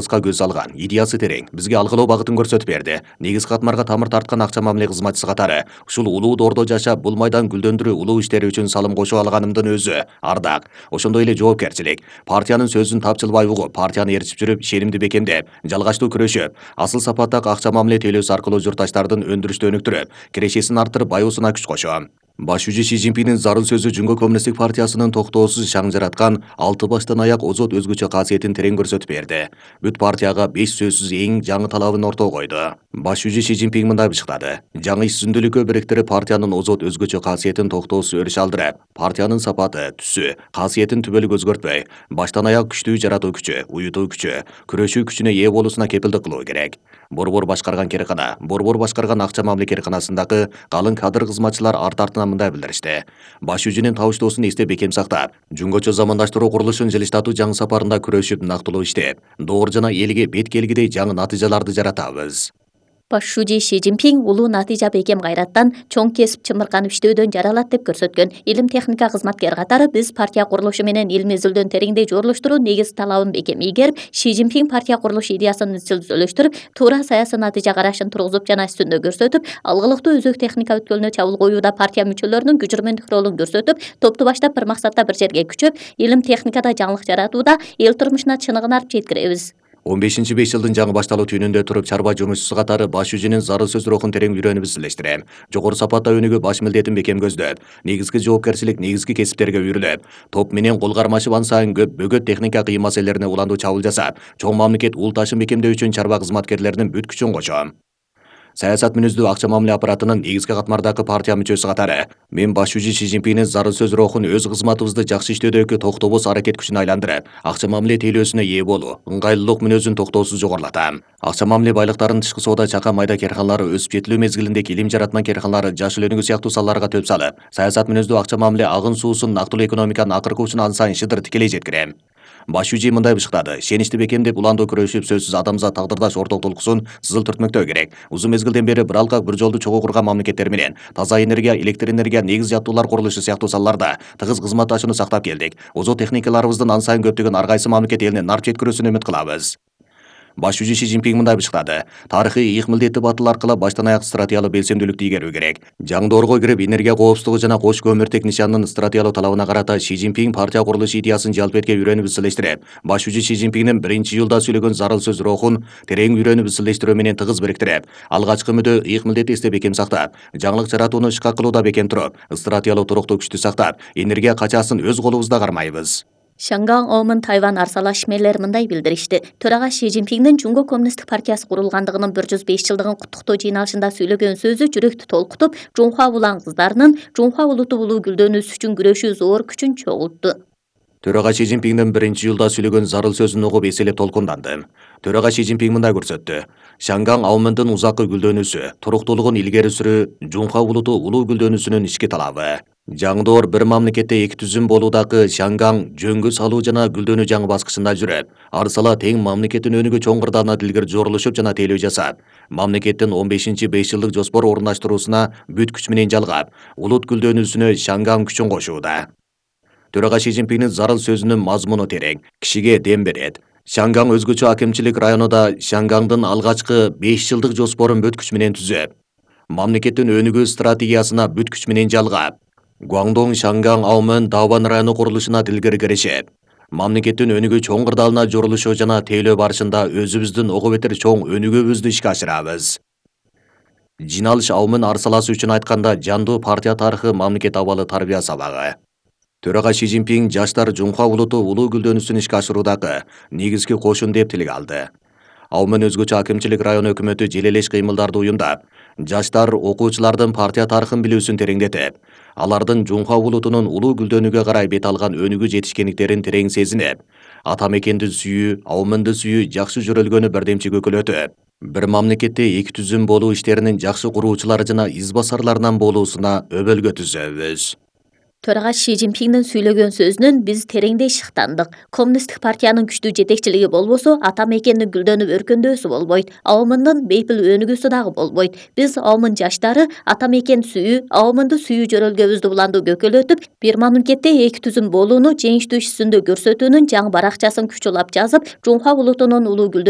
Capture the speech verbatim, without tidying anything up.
көз салган, идеясы терең, бизге алгылоо багытын көрсөтүп берди. Негизги катмарга тамыр тарткан акча мамиле кызматчысы катары ушул улуу доордо жашап, бул майдан гүлдөндүрүү улуу иштери үчүн салым кошуп алганымдын өзү ардак. Ошондой эле жоопкерчилик. Партиянын сөзүн тапчылбай угуп, партияны ээрчип жүрүп, ишенимди бекемдеп, жалгачтуу күрөшүп, асыл сапаттагы акча мамиле тейлөөсү аркылуу журтташтардын өндүрүштү өнүктүрүп, кирешесин арттырып, байуусуна күч кошом. Баш жүзү Си Цзиньпиндин зарыл сөзү Жумго коммунисттик партиясынын токтоосуз шаң жараткан алты баштан аяк озот өзгөчө касиетин терең көрсөтүп берди. Бүт партияга беш сөзсүз эң жаңы талабын ортого койду. Баш жүзү Си Цзиньпин мындай бышыктады. Жаңы иш сүзүндүүлүккө бириктирип партиянын озот өзгөчө касиетин токтоосуз өрүш алдырып, партиянын сапаты, түсү, касиетин түбөлүк өзгөртпөй, баштан аяк күчтүү жаратуу күчү, уютуу күчү, күрөшүү күчүнө ээ болуусуна кепилдик кылуу керек. Борбор башкарган керкана, борбор башкарган акча мамиле керканасындагы калың кадр кызматчылар арт артынан мындай билдиришти. Баш жүзүнүн табыштоосун эсте бекем сактап, жумгочо замандаштыруу курулушун жылыштатуу жаңы сапарында күрөшүп, нактылуу иштеп, доор жана элге бет келгидей жаңы натыйжаларды жаратабыз. Баш жүзү Си Цзиньпин улуу натыйжа бекем кайраттан, чоң кесип чымырканып иштөөдөн жаралат деп көрсөткөн. Илим техника кызматкер катары биз партия курулушу менен илимий изилдөөнү тереңдей жорлуштуруу негиз талабын бекем ийгерип, Си Цзиньпин партия курулуш идеясын изчил түзөлүштүрүп, туура саясий натыйжа карашын тургузуп жана үстүндө көрсөтүп, алгылыктуу өзөк техника өткөлүнө чабуул коюуда партия мүчөлөрүнүн күчүрмөндүк ролун көрсөтүп, топту баштап бир максатта бир жерге күчөп, илим техникада жаңылык жаратууда эл турмушуна чыныгын алып жеткиребиз. он бешинчи беш жылдын жаңы башталуу түнүндө туруп чарба жумушчусу катары баш жүзүнүн зарыл сөз рухун терең үйрөнүп изилештирем. Жогору сапатта өнүгүп, баш милдетин бекем көздөп, негизги жоопкерчилик негизги кесиптерге үйрүлүп, топ менен кол кармашып ансайын көп бөгөт техника кыйын маселелерине уландуу чабуул жасап, чоң мамлекет ул ташын бекемдөө үчүн чарба кызматкерлеринин бүт күчүн кошом. Саясат мүнөздүү акча мамиле аппаратынын негизги катмардагы партия мүчөсү катары мен баш жүзү Си Цзиньпиндин зарыл сөз рухун өз кызматыбызды жакшы иштөөдөгү токтобоз аракет күчүнө айландырып, акча мамиле тейлөөсүнө ээ болуу, ыңгайлуулук мүнөзүн токтоосуз жогорулатам. Акча мамиле байлыктарынын тышкы соода чака майда керканалары өсүп жетилүү мезгилиндеги илим жаратма керканалары жашыл өнүгүү сыяктуу салаларга төп салып, саясат мүнөздүү акча мамиле агын суусун нактылуу экономиканын акыркы учуна ансайын шыдыр тикелей жеткирем. Баш жүзү мындай бышыктады. Ишеничти бекемдеп, уландуу күрөшүп, сөзсүз адамзат тагдырдаш орток толкусун сызыл түртмөктөө керек. Узун мезгилден бери бир алкак бир жолду чогуу курган мамлекеттер менен таза энергия, электр энергия, негиз жаттуулар курулушу сыяктуу салаларда тыгыз кызматташууну сактап келдик. Озот техникаларыбыздын ансайын көптөгөн ар кайсы мамлекет элине нарп жеткирүүсүн үмүт кылабыз. Баш жүзү Си Цзиньпин мындай бышыктады. Тарыхый ыйык милдети батыл аркылуу баштан аяк стратегиялык белсемдүүлүктү игерүү керек. Жаңы доорго кирип, энергия коопсуздугу жана кош көмүртек нишанынын стратегиялык талабына карата Си Цзиньпин партия курулуш идеясын жалпетке үйрөнүп изилештирип, баш жүзү Си Цзиньпиндин биринчи июлда сүйлөгөн зарыл сөз рухун терең үйрөнүп изилештирүү менен тыгыз бириктирип, алгачкы мүдө ыйык милдети эсте бекем сактап, жаңылык жаратууну ишка кылууда бекем туруп, стратегиялык туруктуу күчтү сактап, энергия качасын өз колубузда кармайбыз. Шанган Оумун Тайвань арсала ишмерлери мындай билдиришти. Төрага Си Цзиньпиндин Жумго коммунисттик партиясы курулгандыгынын бир жүз беш жылдыгын куттуктоо жыйналышында сүйлөгөн сөзү жүрөктү толкутуп, Жунхва улан кыздарынын Жунхва улуту улуу гүлдөнүүсү үчүн күрөшүү зор күчүн чогултту. Төрага Си Цзиньпиндин биринчи июлда сүйлөгөн зарыл сөзүн угуп эселеп толкундандым. Төрага Си Цзиньпин мындай көрсөттү. Шанган Аумундун узаккы гүлдөнүүсү, туруктуулугун илгери сүрүү Жунхва улуту улуу гүлдөнүүсүнүн ички талабы. Жаңы доор бир мамлекетте эки түзүм болуудагы Шанган жөнгө салуу жана гүлдөнүү жаңы баскычында жүрөт. Арсала тең мамлекеттин өнүгүү чоң кырдаалына дилгер жорулушуп жана тейлөө жасап, мамлекеттин он бешинчи беш жылдык жоспор орундаштыруусуна бүт күч менен жалгап, улут гүлдөнүүсүнө Шанган күчүн кошууда. Төрага Си Цзиньпиндин зарыл сөзүнүн мазмуну терең, кишиге дем берет. Шанган өзгөчө акимчилик районунда Шангандын алгачкы беш жылдык жоспорун бүт күч менен түзөп, мамлекеттин өнүгүү стратегиясына бүт күч менен жалгап, Гуандong Шанган Аумун Даван району курулушуна дилгер киришип, мамлекеттин өнүгүү чоң кырдаалына жорулушу жана тейлөө барышында өзүбүздүн ого бетер чоң өнүгүүбүздү ишке ашырабыз. Жиналыш Аумун арсаласы үчүн айтканда жандуу партия тарыхы мамлекет абалы тарбия сабагы. Төрага Си Цзиньпин жаштар Жунхва улуту улуу гүлдөнүүсүн ишке ашыруудагы негизги кошун деп тилге алды. Аумун өзгөчө акимчилик район өкмөтү желелеш кыймылдарды уюмдап, жаштар окуучулардын партия тарыхын билүүсүн тереңдетип, алардын Жунхва улутунун улуу гүлдөнүүгө карай бет алган өнүгүү жетишкендиктерин терең сезинип, ата мекенди сүйүү, Аумунду сүйүү жакшы жөрөлгөнү бирдемчи көкөлөтүп, бир мамлекетте эки түзүм болуу иштеринин жакшы куруучулары жана из басарларынан болуусуна өбөлгө түзөбүз. Төрага Ши Цзиньпиңдин сүйлөгөн сөзүнөн биз тереңдей шыктандык. Коммунисттик партиянын күчтүү жетекчилиги болбосо, ата мекендин гүлдөнүп өркөндөөсү болбойт. Аомундун бейпил өнүгүүсү дагы болбойт. Биз Аомун жаштары ата мекен сүйүү, Аомунду сүйүү жөрөлгөбүздү буланды көкөлөтүп, бир мамлекетте эки түзүм болууну жеңиштүү иш жүзүндө көрсөтүүнүн жаңы баракчасын күч улап жазып, Жунхва улутунун улуу гүлдөнүү